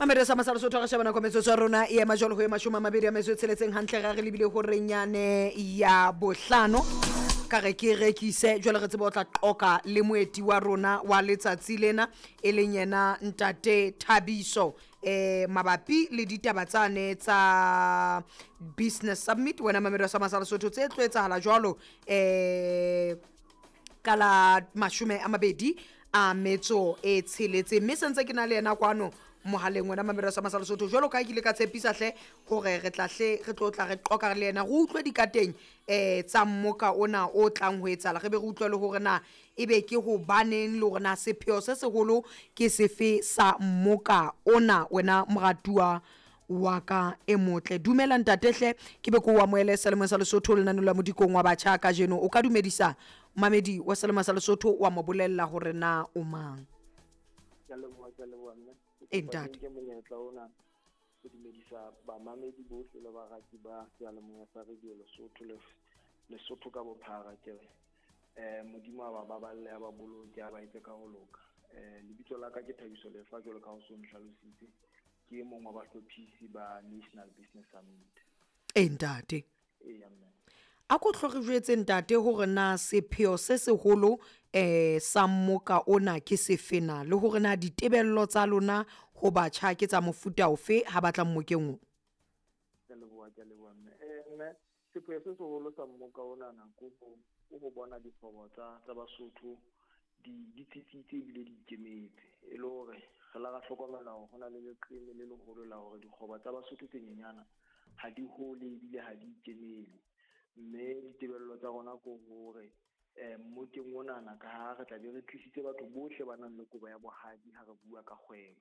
Mamedi sa masala Sotho, re sheba nako metsotso ya rona e ema jwalo ho e 20 a metso e tsheletseng hantle ra re lebile ho renyane ya bohlano. Ka re ke rekise jwale re tsebe o tla qoka le moeti wa rona wa letsatsi lena, e leng yena ntate Thabiso, mabapi le ditaba tsane tsa Business Summit. Wena mamedi sa masala Sotho, tse tlo etsahala jwalo ka la 26 a metso e tsheletseng, mme sentse ke na le yena kwano mohaleng. Wena mamedi sa masala Sotho, jwalo ka ha ke ile ka tshepisa hle hore re tla hle re tlo tla re qoka le yena, re utlwe dikateng tsa mmoka ona o tlang ho etsahala, re be re utlwe le hore na ebe ke hobaneng le hore na sepheo se seholo ke sefe sa mmoka ona. Wena moratuwa wa ka e motle, dumela ntate hle, ke be ke o amohele selemong sa Lesotho lenaneo la Modikong wa Batjha kajeno. O ka dumedisa mamedi wa selemo sa Lesotho, wa mo bolella hore na o mang? Ke a leboha, ke a leboha mme. E, ntate. Ke monyetla ona ho dumedisa bamamedi bohle le barati ba seyalemoya sa Radio Lesotho le Lesotho ka bophara. Ke re Modimo a ba baballe, a ba boloke, a ba etse ka ho loka. Lebitso la ka ke Thabiso Lefa, jwalo ka ho so nhlalositse, ke e mong wa bahlophisi ba National Business Summit. E, ntate. Eya mme. A ko tlo re jwetse ntate hore na sepheo se seholo sa mmoka ona ke sefe na, le hore na ditebello tsa lona ho batjha ke tsa mofuta ofe ha batla mmokeng o? Ke a leboha, ke a leboha mme. Mme sepheo se seholo sa mmoka onana ke ho bona dikgwebo tsa Basotho di tsitsitse ebile di ikemetse, e le hore re la ra hlokomela hore ho na le leqeme le leholo la hore dikgwebo tsa Basotho tse nyenyana ha di hole ebile ha di ikemele. Mme ditebello tsa rona ke hore mmokeng onana, ka ha re tla be re tlisitse batho bohle ba nang le kobo ya bohadi ha re bua ka kgwebo,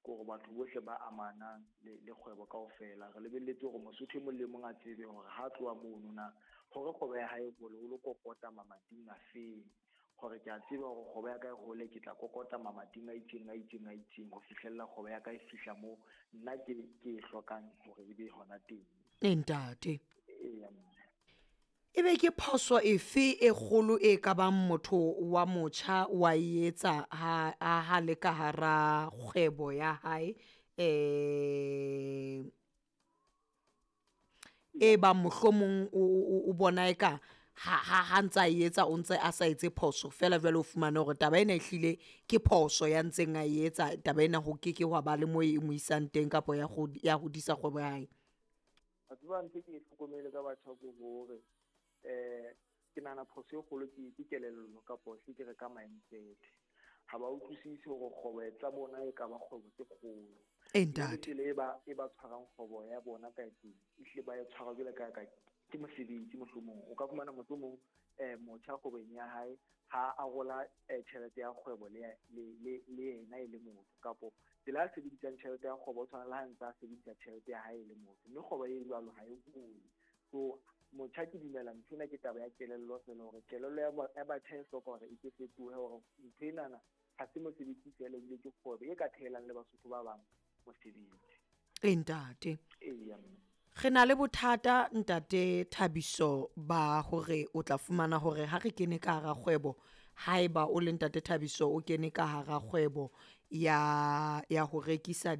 ke hore batho bohle ba amanang le kgwebo kaofela, re lebelletse hore Mosotho e mong le mong a tsebe hore ha tloha mono na hore kgwebo ya hae hole, o lo kokota mamating a feng, hore ke a tseba hore kgwebo ya ka e hole, ke tla kokota mamating a itseng, a itseng, a itseng, ho fihlella kgwebo ya ka e fihla moo nna ke e hlokang hore e be hona teng. E, ntate. Eya mme. Ebe ke phoso efe e kgolo e ka bang motho wa motjha wa e etsa ha le ka hara kgwebo ya hae, e bang mohlomong o bona eka ha ntsa e etsa o ntse a sa etse phoso fela, jwale o fumane hore taba ena ehlile ke phoso ya ntseng a e etsa, taba ena ho ke ke hwa ba le mo e mo isang teng kapa ya hodisa kgwebo ya hae? Wa tseba, ntho e ke e hlokomele ka batjha ke hore ke nahana phoso e kgolo ke kelello, kapo se ke re ka mindset. Ha ba utlwisisi hore kgwebo tsa bona e ka ba kgwebo tse kgolo. E, ntate. Tsela e ba tshwarang kgwebo ya bona ka teng, ehlile ba e tshwara jwalo ka ke mosebetsi. Mohlomong o ka fumana mohlomong motjha kgwebong ya hae ha arola tjhelete ya kgwebo le yena e le motho, kapo tsela a sebedisang tjhelete ya kgwebo o tshwana le ha ntse a sebedisa tjhelete ya hae e le motho, mme kgwebo e jwalo ha e hole. So motjha, ke dumela ntho ena ke taba ya kelello fela, hore kelello ya batjha e hloka hore e ke fetohe, hore ntho enana ha se mosebetsi fela, ebile ke kgwebo e ka thehelang le Basotho ba bang mosebetsi. E, ntate. Eya mme. Re na le bothata ntate Thabiso ba hore o tla fumana hore ha re kene ka hara kgwebo, haeba o le ntate Thabiso o kene ka hara kgwebo ya ho rekisa.